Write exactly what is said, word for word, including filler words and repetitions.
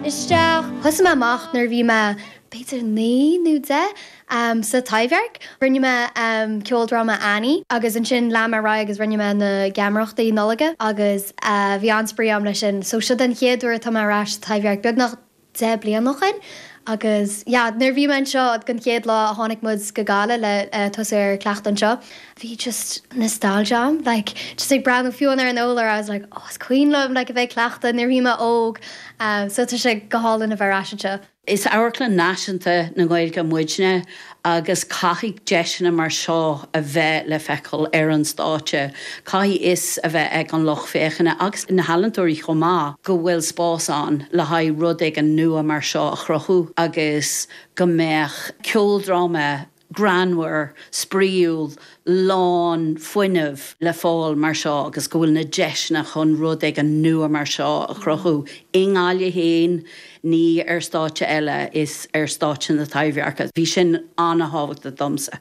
isteach. Thosaigh mé amach nuair bhí mé b'fhéidir naoi nó deich um, sa Taibhdhearc. Rinne mé um, ceoldráma Annie agus ansin lean mé agus rinne mé na geamaireachtaí Nollag agus uh, bhí an-spraoi agam leis sin, so seo den chéad uair atá mé ar ais Taibhdhearc beagnach deich bliana ó shin. agus yeah, nuair bhí anseo den chéad lá a tháinig muid go Gaillimh le uh, tosú ar cleachtadh anseo. Bhí just nostalgia like just ag breathnú fiú ar an urlár I was like oh, is cuimhin liom like a bheith cleachtadh nuair bhí mé óg um, so tá sé go hálainn a bheith ar ais anseo. Is amharclann náisiúnta na Gaeilge muidne agus caithfidh deiseanna mar seo a bheith le feiceáil ar an stáitse. Caithfidh fhios a bheith ag an lucht féachana agus na healaíontóirí chomh maith go bhfuil spás ann le haghaidh rud éigin nua mar seo a chruthú agus go mbeadh ceoldráma greannmhar spraíúil lán fuinnimh le fáil mar seo agus go bhfuil na deiseanna chun rud éigin nua mar seo a chruthú. I nGaillimh féin ní ar stáitse eile is ar stáitse na Taibhdheirce. Bhí sin an-tábhachtach domsa.